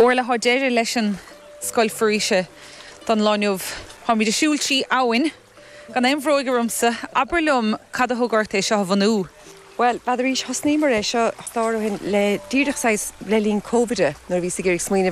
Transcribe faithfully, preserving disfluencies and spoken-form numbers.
Orla tá deireadh leis an scoil foraoise don lá inniu. Táimid ag siúl trí abhainn gan aon bhróg ormsa, abair liom cad a thug ort é seo a bhunú. Well, b'fhéidir thosnaíomar é seo stár hin le díreach le linn COVID nuair bhí ag smaoineamh